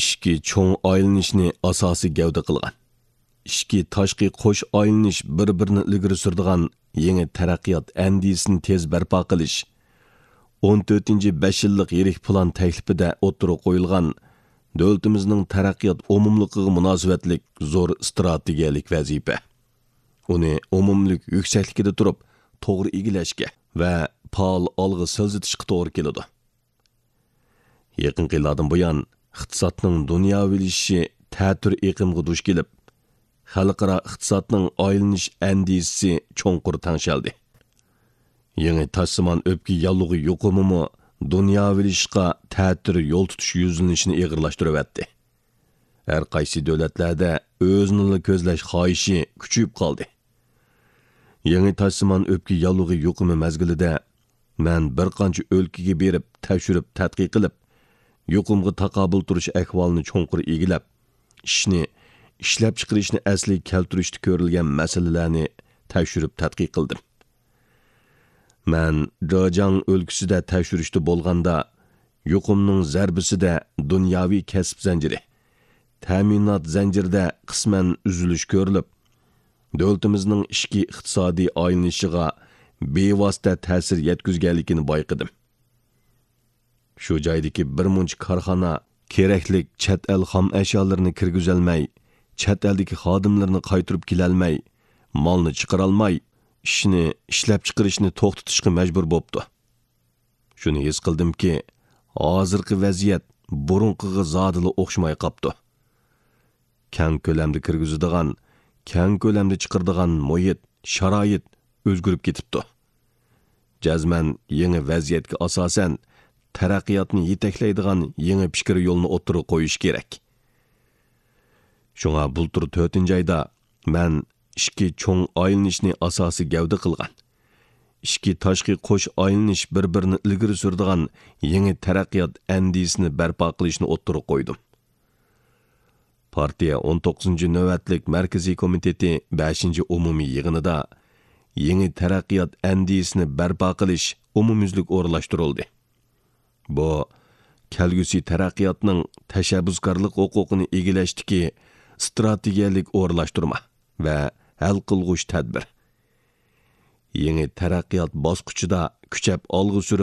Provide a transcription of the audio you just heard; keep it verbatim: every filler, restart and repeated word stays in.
ئىچكى چوڭ ئايلىنىشنى ئاساسىي گەۋدە قىلغان، ئىچكى تاشقى قوش ئايلىنىش بىر-بىرىنى ئىلگىرى سۈرىدىغان يېڭى تەرەققىيات ئەندىزىسىنى تېز بەرپا قىلىش، ئون تۆتىنچى بەش يىللىق يىرىك پىلان تەكلىپىدە ئوتتۇرىغا قويۇلغان دۆلىتىمىزنىڭ تەرەققىيات ئومۇملۇقىغا مۇناسىۋەتلىك زور ئىستراتېگىيەلىك ۋەزىپە. ئۇنى ئومۇملۇق يۈكسەكلىكىدە تۇرۇپ توغرا ئىگىلەشكە ۋە پائال ئالغا سىلجىتىشقا توغرا كېلىدۇ. يېقىنقى يىللاردىن بۇيان، ئىقتىسادنىڭ دۇنياۋىلىشىشى تەتۈر ئېقىمغا دۇچ كېلىپ، خەلقئارا ئىقتىسادنىڭ ئايلىنىش ئەندىزىسى چوڭقۇر تەڭشەلدى. يېڭى تاشسىمان ئۆپكە ياللۇغى يۇقۇمىمۇ دۇنياۋىلىشىشقا تەتۈر يول تۇتۇش يۈزلىنىشىنى ئېغىرلاشتۇرۇۋەتتى. ھەر قايسى دۆلەتلەردە ئۆزىنىلا كۆزلەش خاھىشى كۈچىيىپ قالدى. يېڭى تاشسىمان ئۆپكە ياللۇغى يۇقۇمى مەزگىلىدە مەن بىر قانچە ئۆلكىگە بېرىپ، تەكشۈرۈپ تەتقىق قىلىپ، يۇقۇمغا تاقابىل تۇرۇش ئەھۋالىنى چوڭقۇر ئىگىلەپ، ئىشنى، ئىشلەپچىقىرىشنى ئەسلىگە كەلتۈرۈشتە كۆرۈلگەن مەسىلىلەرنى تەكشۈرۈپ تەتقىق قىلدىم. مەن جېجياڭ ئۆلكىسىدە تەكشۈرۈشتە بولغاندا، يۇقۇمنىڭ زەربىسىدە دۇنياۋى كەسىپ زەنجىرى، تەمىنات زەنجىرىدە قىسمەن ئۈزۈلۈش كۆرۈلۈپ، دۆلىتىمىزنىڭ ئىچكى ئىقتىسادىي ئايلىنىشىغا بىۋاسىتە تەسىر يەتكۈزگەنلىكىنى بايقىدىم. شۇ جايدىكى بىر مۇنچە كارخانا كېرەكلىك چەت ئەل خام ئەشيالىرىنى كىرگۈزەلمەي، چەت ئەلدىكى خادىملىرىنى قايتۇرۇپ كېلەلمەي، مالنى چىقىرالماي، ئىشنى، ئىشلەپچىقىرىشنى توختىتىشقا مەجبۇر بوپتۇ. شۇنى ھېس قىلدىمكى، ھازىرقى ۋەزىيەت بۇرۇنقىغا زادىلا ئوخشىماي قاپتۇ. كەڭ كۆلەمدە كىرگۈزىدىغان، كەڭ كۆلەمدە چىقىرىدىغان مۇھىت، شارائىت ئۆزگىرىپ كېتىپتۇ. جەزمەن يېڭى ۋەزىيەتكە ئاساسەن، تەرەققىياتنى يېتەكلەيدىغان يېڭى پىكىر يولىنى ئوتتۇرىغا قويۇش كېرەك. شۇڭا بۇلتۇر تۆتىنچى ئايدا مەن ئىچكى چوڭ ئايلىنىشنى ئاساسىي گەۋدە قىلغان، ئىچكى تاشقى قوش ئايلىنىش بىر-بىرىنى ئىلگىرى سۈرىدىغان يېڭى تەرەققىيات ئەندىزىسىنى بەرپا قىلىشنى ئوتتۇرىغا قويدۇم. پارتىيە ئون توققۇزىنچى نۆۋەتلىك مەركىزىي كومىتېتى بەشىنچى ئومۇمىي يىغىنىدا يېڭى تەرەققىيات ئەندىزىسىنى بەرپا قىلىش ئومۇميۈزلۈك ئورۇنلاشتۇرۇلدى. بۇ، كەلگۈسى تەرەققىياتنىڭ تەشەببۇسكارلىق ھوقۇقىنى ئىگىلەشتىكى ئىستراتېگىيەلىك ئورۇنلاشتۇرما ۋە ھەل قىلغۇچ تەدبىر. يېڭى تەرەققىيات باسقۇچىدا كۈچەپ ئالغا سۈرۈپ